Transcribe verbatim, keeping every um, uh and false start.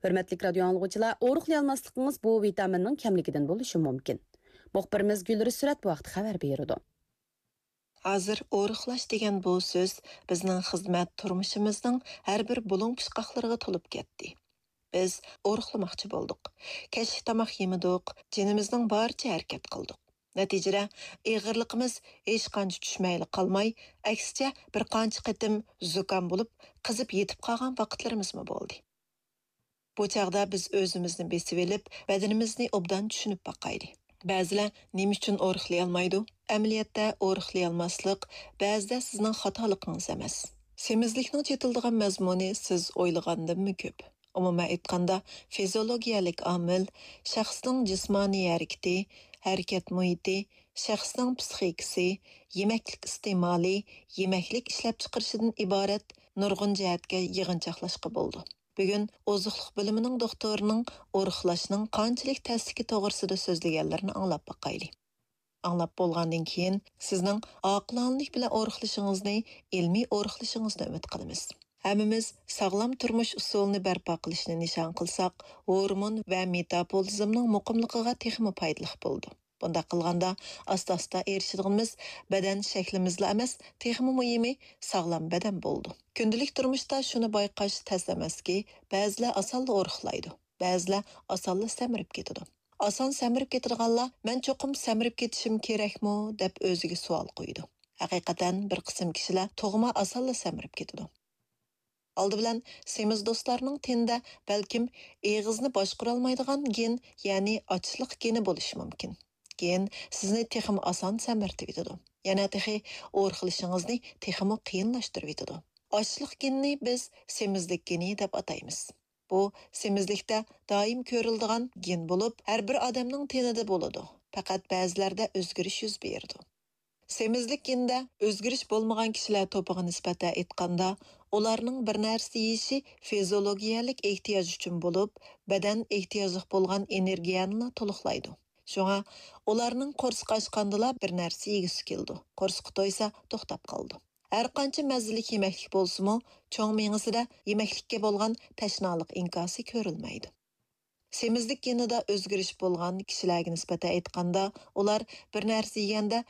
ھۆرمەتلىك رادىيو ئاڭلىغۇچىلار، ئورۇقلىيالماسلىقىڭىز بۇ ۋىتامىننىڭ كەملىكىدىن بولۇشى مۇمكىن. مۇخبىرىمىز گۈلرى سۈرەت بۇ ھەقتە خەۋەر بېرىدۇ. ھازىر ئورۇقلاش دېگەن بۇ سۆز بىزنىڭ خىزمەت تۇرمۇشىمىزنىڭ ھەر بىر بۇلۇڭ پۇچقاقلىرىغا تولۇپ كەتتى. بىز ئورۇقلىماقچى بولدۇق. كەچلىك تاماق يېمىدۇق، جېنىمىزنىڭ بارىچە ھەرىكەت قىلدۇق. نەتىجىدە، ئېغىرلىقىمىز ھېچقانچە چۈشمەيلا قالماي، ئەكسىچە، بىر قانچە قېتىم زۇكام بولۇپ، قىزىپ يېتىپ قالغان ۋاقىتلىرىمىزمۇ بولدى. بۇ چاغدا بىز ئۆزىمىزنى بېسىۋېلىپ، بەدىنىمىزنى ئوبدان چۈشىنىپ باقايلى. بەزىلەر نېمە ئۈچۈن ئورۇقلىيالمايدۇ؟ ئەمەلىيەتتە، ئورۇقلىيالماسلىق بەزىدە سىزنىڭ خاتالىقىڭىز ئەمەس. سېمىزلىكنىڭ چېتىلىدىغان مەزمۇنى سىز ئويلىغاندىنمۇ كۆپ. ئومۇمەن ئېيتقاندا، فىزىولوگىيەلىك ئامىل، شەخسنىڭ جىسمانىي ھەرىكىتى، ھەرىكەت مۇھىتى، شەخسنىڭ پسىخىكىسى، يېمەكلىك ئىستېمالى، يېمەكلىك ئىشلەپچىقىرىشىدىن ئىبارەت نۇرغۇن جەھەتكە يىغىنچاقلاشقا بولىدۇ. بۈگۈن ئوزۇقلۇق بۆلۈمىنىڭ دوختۇرىنىڭ ئورۇقلاشنىڭ قانچىلىك تەسلىكى توغرىسىدا سۆزلىگەنلىرىنى ئاڭلاپ باقايلى. ئاڭلاپ بولغاندىن كېيىن، سىزنىڭ ئاقىلانىلىك بىلەن ئورۇقلىشىڭىزنى ئىلمىي ئورۇقلىشىڭىزنى ئۈمىد قىلىمىز. ھەممىمىز ساغلام تۇرمۇش ئۇسۇلىنى بەرپا قىلىشنى نىشان قىلساق، ھورمون ۋە مېتابولىزمنىڭ مۇقىملىقىغا تېخىمۇ پايدىلىق بولىدۇ. بۇنداق قىلغاندا، ئاستا-ئاستا ئېرىشىدىغىنىمىز بەدەن شەكلىمىزلا ئەمەس، تېخىمۇ مۇھىمى، ساغلام بەدەن بولىدۇ. كۈندىلىك تۇرمۇشتا شۇنى بايقاش تەس ئەمەسكى، بەزىلەر ئاسانلا ئورۇقلايدۇ، بەزىلەر ئاسانلا سەمرىپ كېتىدۇ. ئاسان سەمرىپ كېتىدىغانلار، «مەن چوقۇم سەمرىپ كېتىشىم كېرەكمۇ؟» دەپ ئۆزىگە سوئال قويىدۇ. ھەقىقەتەن، بىر قىسىم كىشىلەر تۇغما ئاسانلا سەمرىپ كېتىدۇ. ئالدى بىلەن، سېمىز دوستلارنىڭ تېنىدە بەلكىم ئېغىزنى باشقۇرالمايدىغان گېن، يەنى ئاچلىق گېنى بولۇشى مۇمكىن. گېن سىزنى تېخىمۇ ئاسان سەمرىتىۋېتىدۇ. يەنە تېخى ئورۇقلىشىڭىزنى تېخىمۇ قىيىنلاشتۇرۇۋېتىدۇ. ئاچلىق گېنىنى بىز سېمىزلىك گېنى دەپ ئاتايمىز. بۇ سېمىزلىكتە دائىم كۆرۈلىدىغان گېن بولۇپ، ھەر بىر ئادەمنىڭ تېنىدە بولىدۇ. پەقەت بەزىلەردە ئۆزگىرىش يۈز بېرىدۇ. سېمىزلىك گېنىدە ئۆزگىرىش بولمىغان كىشىلەر توپىغا نىسبەتەن ئېيتقاندا، ئۇلارنىڭ بىر نەرسە يېيىشى فىزىولوگىيەلىك ئېھتىياج ئۈچۈن بولۇپ، بەدەن ئېھتىياجلىق بولغان ئېنېرگىيەنىلا تولۇقلايدۇ. شۇڭا ئۇلارنىڭ قورسىقى ئاچقاندىلا بىر نەرسە يېگۈسى كېلىدۇ، قورسىقى تويسا توختاپ قالىدۇ. ھەرقانچە مەززىلىك يېمەكلىك بولسىمۇ، چوڭ مېڭىسىدە يېمەكلىككە بولغان تەشنالىق ئىنكاسى كۆرۈلمەيدۇ. سېمىزلىك گېنىدا ئۆزگىرىش بولغان كىشىلەرگە نىسبەتەن ئېيتقاندا، ئۇلار بىر نەرسە يېگەندە